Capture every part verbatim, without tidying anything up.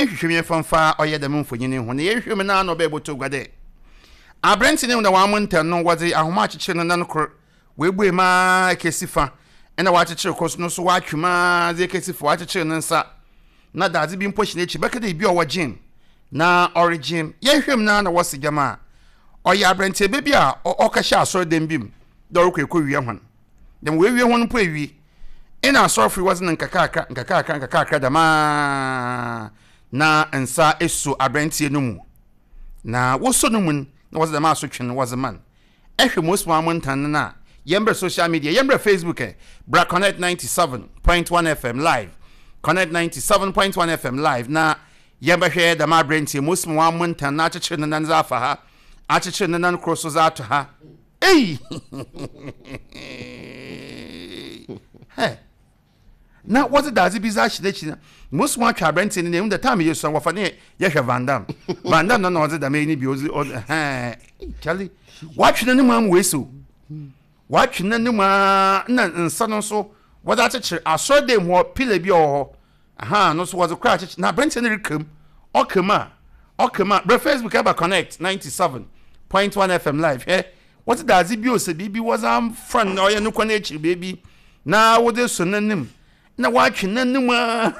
Yɛnhwehwɛ mu yɛmfa mfa ɔyɛ dɛm mfonyin yi ho na yɛhwehwɛ mu na na ɔbɛyɛ bɔtɔ gua dɛ aberɛnte ne na wɔn ntɛn no, wɔdze ahoma akyekyere no nan kor, woebue mu ara kesi fa, ɛna wɔakyekyere kor no so, wɔatwe mu ara dze ekesi fa. Wɔakyekyere ne nsa na dadze bi mpo hyɛ n'akyi, bɛka dɛ ebi a ɔwɔ gym na ɔregym. Yɛhwɛ mu na na wɔsi gyam a ɔyɛ aberɛnteɛ bi a ɔkɛhyɛ asɔredan bi mu dɛ ɔrekɔ ekɔwia hɔn dɛm. Wɔawie hɔn mpo ewie, ɛna asɔrefo yi wɔdze no nkakrakra nkakrakra nkakrakra dɛmaa na nsa esu aberanteɛ no mu, na wosɔ no mu na wɔdze dɛm asotwe no wɔdze ma no. Ɛhwɛ mo osima mo ntan no a, yɛmbrɛ social media, yɛmbrɛ Facebook ɛ bra Connect ninety-seven point one F M live, Connect ninety-seven point one F M live, na yɛbɛhwɛ dɛm aberanteɛ mo osima wɔn mo ntan na akyekyere ne nan dze afa ha, akyekyere ne nan koro so dze ato ha. Ei hɛ, na wɔdze dadze bi dze ahyɛ n'akyi na most wɔn atwa aberanteɛ no na ehu dɛ time yɛ sua wɔfa ne yɛhwɛ Van Damme, Van Damme na na ɔdze dɛm ɛyi ni bi ɔdze ɔdze hɛn kyale watwe n'anim amu wei o, watwe n'anim aa, na nsa no nso wɔdze akyekyere asɔredan mu hɔ, pillar bi a ɔwɔ hɔ aha no nso wɔdze kora akyekyere, na aberanteɛ no rekam ɔkam a ɔkam a. Brɛ Facebook ɛba Connect ninety seven point one F M live. Hwɛ, wɔdze dadze bi o sɛ biribi wɔdze amfa no ɔyɛ no kɔ n'akyiri beebi na wɔdze so n'anim na watwe n'anim a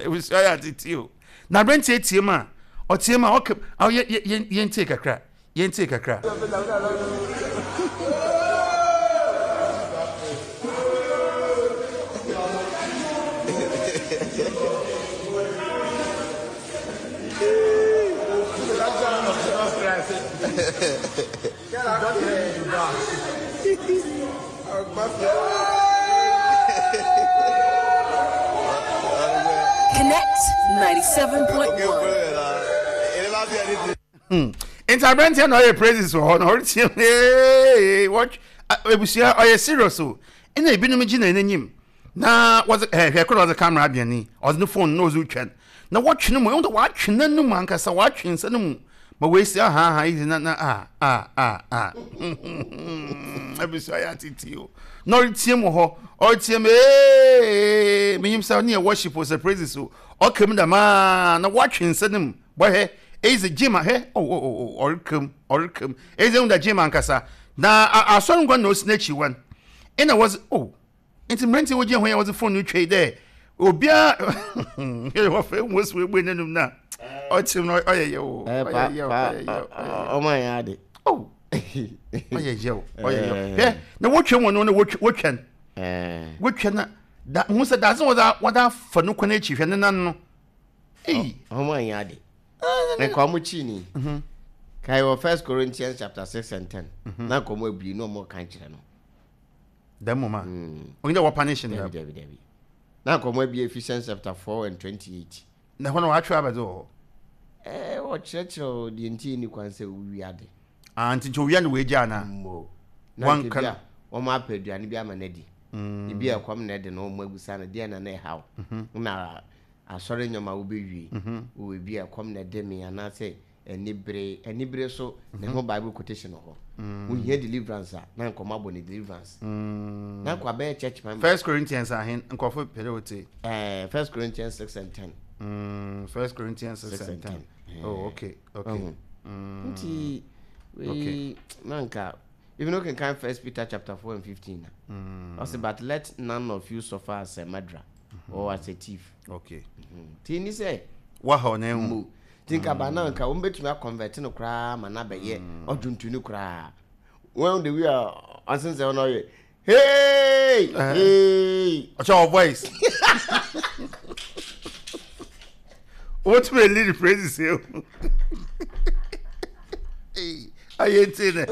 ebusua yɛ atete o, na aberanteɛ tie mu a ɔtie mu a ɔka ɔyɛ yɛ yɛn tie kakra, yɛn tie kakra. Connect ninety-seven point one. Nti aberanteɛ na ɔyɛ praises wɔ hɔ na ɔretie mu ee, wɔtwe ebusua ɔyɛ serious o. Ɛna ebinom gyina n'anim na wɔdze ɛɛ hwɛ koro ɔdze camera abɛn ni, ɔdze ne phone na ɔdze retwa na wɔtwe ne mu, ɛhu dɛ wɔatwe n'anum ankasa, wɔatwe nsa no mu ma wɔesi aha aha yi na na a a a a ebusua yɛ atete o, na ɔretie mu hɔ, ɔretie mu ee, menyim sɛ ɔne yɛ worship o sɛ praises o, ɔka mu dɛm na wɔatwe nsa no mu. Bɔhwɛ eyi sɛ gym ahwɛ o o o, ɔrekam ɔrekam eyi sɛ ehun gym ankasa na asɔre nkwa na osi n'akyi wɔn ɛna wɔdze o. Nti mmeranteɛ wogyina hɔ yɛ wɔdze phone no twa yi dɛ obiara wɔfɛ ehu osi ebue n'anum na ɔkyerɛ no, ɔyɛ yɛ o, ɔyɛ yɛ o, ɔyɛ yɛ o. Ɔmo ayɛ ade. O, ɔyɛ yɛ o, ɔyɛ yɛ o. Hwɛ na wotwa wɔn no na wotwa wotwa wotwa na da ho sɛ dadze wɔdze wɔdze afa no kwan akyi, hwɛ ne nan no eyi. Ɔmo ayɛ ade. Nka ɔmo kyi ni kae wɔ First Corinthians chapter six and ten na nka ɔmo abue na ɔmo ka nkyerɛ no. Dɛm mo ma onye dɛ wɔ punish no. Dabi dabi dabi, na nka ɔmo abue Ephesians chapter four and twenty-eight. Na hɔ na wɔatwerɛ abɛdze wɔ hɔ. Ɛɛ, ɔkyerɛkyerɛ deɛ nti ni kwan sɛ owi ade. Ah, nti nkyɛ owia no wɔ egya ana? Mo na nka bi a wɔn apɛ aduane bi ama n'adi, ebi a ɛkɔm na ɛde no, wɔn abusa no deɛ na na ɛhaw na asɔre nneɛma wobɛwie wɔ ebi a ɛkɔm na ɛde me anaasɛ anibere anibere so ne ho Bible quotation wɔ hɔ. Wohia deliverance a, na nkɔmɔ abɔ ne deliverance na nkɔ abɛyɛ church member. First Corinthians ahen? Nkɔfo pɛrɛ o te. ɛɛ First Corinthians six and ten. Mm, First Corinthians six and ten. Oh, okay okay. Nti wei na nka even okenkan First Peter chapter four and fifteen na ɔsɛ, "But let none of you suffer as a murderer or as a thief." Okay. Ti ni sɛ waha ɔna ehu. Ti nka ba na nka wɔn bɛtumi aconvert no koraa ma na bɛyɛ ɔdwontoni koraa wɔn de wi a ɔsensɛn wɔn ɔyɛ hey hey. Ɔkyɛ wɔ voice wotumi lead praises ehu ayɛ nti ne.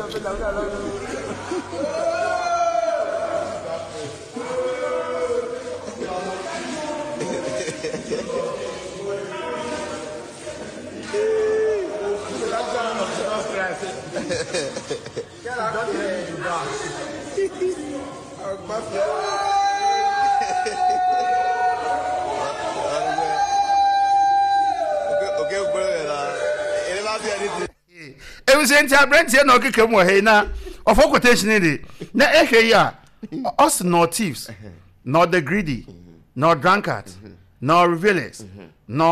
Ebusua, nti aberanteɛ na ɔkeka mu wɔ ha yi na ɔfɔ quotation de na ɛhwɛ yi a, ɔsi "Nor thieves, nor the greedy, nor drunkards, nor revelers, nor